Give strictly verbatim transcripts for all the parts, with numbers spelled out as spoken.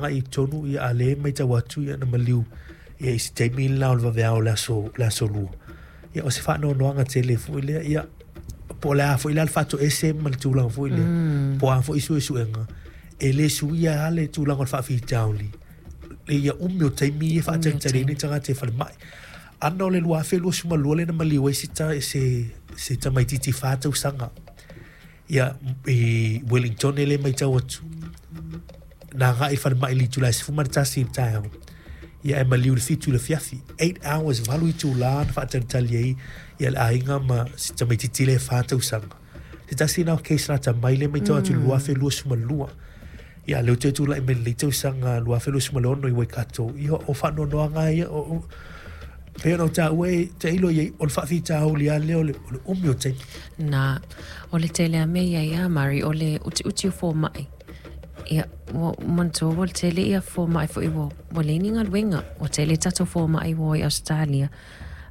agai i totonu, ia, a lea e matau atu, ia, na maliu, ia, i se taimi le la o le vaveao o le aso, le aso lua. Ia, o se faanoanoaga tele foi lea, ia, po o le a foi la le faatoese ma le tulaga foi lea, mm. po o a foi suesuega, e le suia lava le tulaga o le faafitauli, ia umi o taimi ia faatalitali ai ni tagata i falemai. Ana o le lua afe luasefulu ma lua lea na maliu ai se, se, se tamaitiiti fa tausaga, ia, i Wellington e le matau atu. Na agai i falemai i le itula e sefulu ma le tasi i le taeao. Ia e maliu i le fitu i le afiafi. Eight hours, valu itula na faatalitali ai ia le aiga ma si tamaitiiti lea e fa tausaga. Se tasi lena o case lata mai lea e matau atu i le lua afe luasefulu ma lua. Ia lea ua toe tulai mai lenei tausaga lua afe luasefulu ma le ono i Waikato. Ia o faanoanoaga ia o, o pei ona ou taua e tailo i ai, o le faafitauli lava lea o le, o le umi o taimi. Na, o le tele a mea ia ia Mari, o le utiuti o fomai. Ia, ua manatua ua tele ia fomai foi ua, ua leai ni galuega, ua tele tatou fomai ua o i Ausetalia.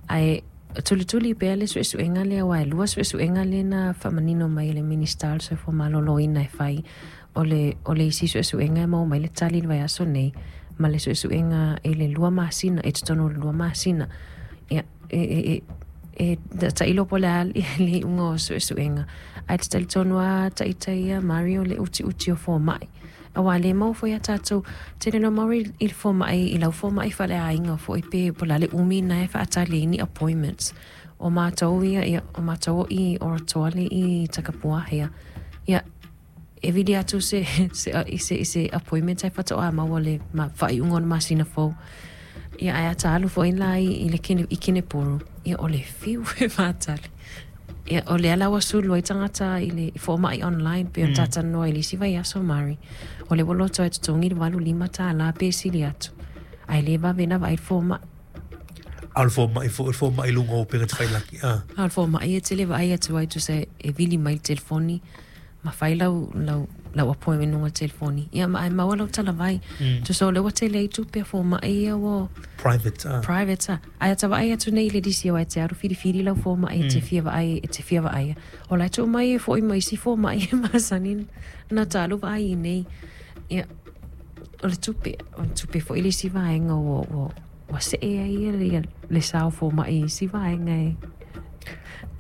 Ae tulituli pea le suesuega lea, aua e lua suesuega lea na faamanino mai e le Minisita o le Soifua Maloloina e fai. O le, o le isi suesuega e maua mai le tali i le vaiaso nei, ma le suesuega i le lua masina, i totonu o le lua masina. Ia, e, e, e, e tailo po o le a le iuga o suesuega. Ae te talitonu lava ita ia Mari o le utiuti o fomai. Aua le maua foi a tatou, tele no Mari i le fomai, i lau fomai faaleaiga foi pe po o le a le umi na e faatali ai ni appointments. O matou ia, ia, o matou o i Oratoa le i Takapuwahea. Ia, e vili atu se, se, se, se appointment ai faatoa maua le ma, faaiuga o le masina fou. Ia, ae a ta alu foi la i, i le kine, i Kenepuru, ia, o le fiu e faatali. Ia, o lea la ua sulu ai tagata i le fomai online pe o mm. talanoa i le isi vaiaso Mari. O le ua loto ai totogi le valu lima tālā pe sili atu. Ae le vave na vaai le fomai. A o le fomai foi, o le fomai i luga o upega tafailagi. Ah. A o le fomai e tele vaai atu ai tusa e vili mai le telefoni ma fai lau, lau, lau appointment luga telefoni. Ia, ma ai maua lau talavai. Mm. Tusa o lea ua tele ai tupe a fomai ia ua Private. Ah. Private a. Ae ata vaai atu nei i le disi aua e te alu filifili lau fomai e te fia vaai, e te fia vaaia. O la e tuu mai e foi mai isi fomai e masani na ta alu vaai i nei. Ia, o le tupe, o le tupe foi le isi vaega ua, ua, ua see ai ia le, le sao fomai i isi vaega e.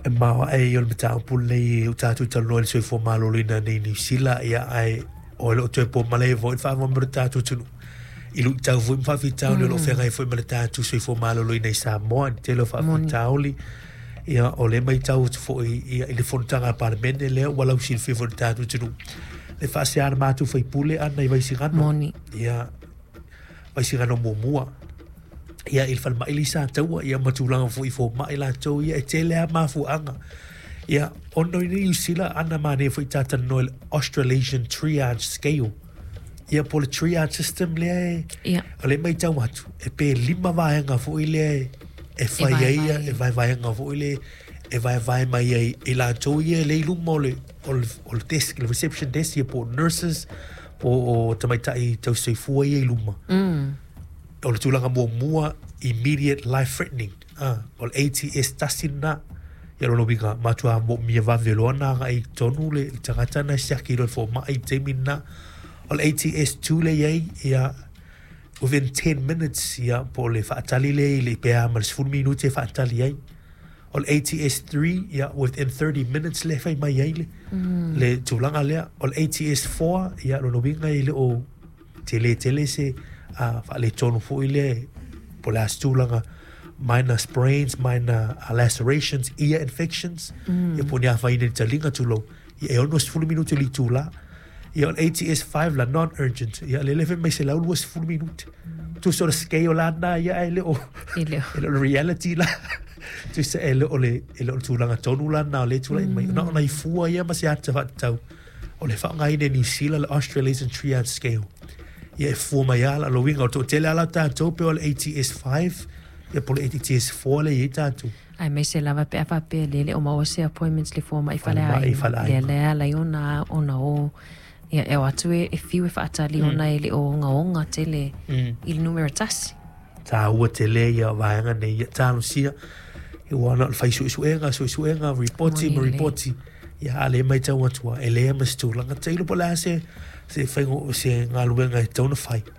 E maoae ia o le mataupu lenei ua tatou talanoa i le soifua maloloina nei i Niu Sila, ia, ae o le o toe po malae foi le faamoemoe o le tatou atunuu i luitau foi ma faafitauli o lo o feagai foi ma le tatou soifua maloloina i Samoa i le tele o faafitauli. Ia, o lea e matau atu foi, ia, i le fonotaga a le Palemene lea ua lausilafia foi i le tatou atunuu le faasea a le matou faipule ana i Vaisigano. Moni. Ia, Vaisigano muamua. Ia, i le falemai le i Sataua, ia, ma tulaga foi i fomai latou, ia, e tele lava mafuaaga. Ia, ona i Niu Sila, ana manaia foi ta talanoa i le Australasian Triage Scale. Ia, po o le triage system lea e, Ia. o lea e matau atu, e pe lima vaega foi lea e fai ai, vaevae. E vaevaega foi lea e vaevae mai ai i latou ia e le i luma o le, o le, o le desk, le reception desk, ia, po o nurses, po o tamaitai tausisoifua ia i luma. Mm. O le tulaga muamua, immediate life threatening, ah, o le A T S tasi lena. Ia, lona uiga, matua moomia vave loa na agai i totonu le, le tagata na e siaki loa i le fomai i le taimi lena. O le A T S two le i ai, ia, within ten minutes, ia, po o le faatali lea i le pe a ma le sefulu minute e faatali ai. O le A T S three, ia, within thirty minutes le fai mai ai le, mm. le tulaga lea. O le A T S four, ia, lona uiga e le o tele tele se uh, faaletonu foi lea, po o le a se tulaga, minor sprains, minor uh, lacerations, ear infections, mm. ia, po o ni afaina i le taliga tulou, ia, e ono sefulu minute le itula. Ia, o le A T S five la, non-urgent, ia, le le fai mai selau luasefulu minute. Tusa o le scale la na, ia, e le o, E le o. E le o le reality la. Tusa e le o le, e le o le tulaga tonu la na o le tulai mai. Na o nai fua ia ma se ata faatatau. O le faaaogaina e Niu Sila le Australasian Triage Scale. Ia, e fua mai ala, lo uiga o toatele ala tatou pe o le A T S five, ia, po o le A T S four le i ai tatou. Aemaise lava pe a faapea le le o maua se appointments le fomai Falemai, faleaiga. Faleaiga. Lea lea ala ai ona, ona o. Ia, e o atu e, e fiu e faatali mm. ona e le o ogaoga tele Mm. i le numera tasi. Taua tele ia vaega nei, ia talosia. Ua na o le fai suesuega, suesuega, ripoti ma Moni lelei. ripoti. Ia, a le matau atu e lea ma se tulaga. Tailo po o le a se, se faiga, se galuega e tatau ona fai.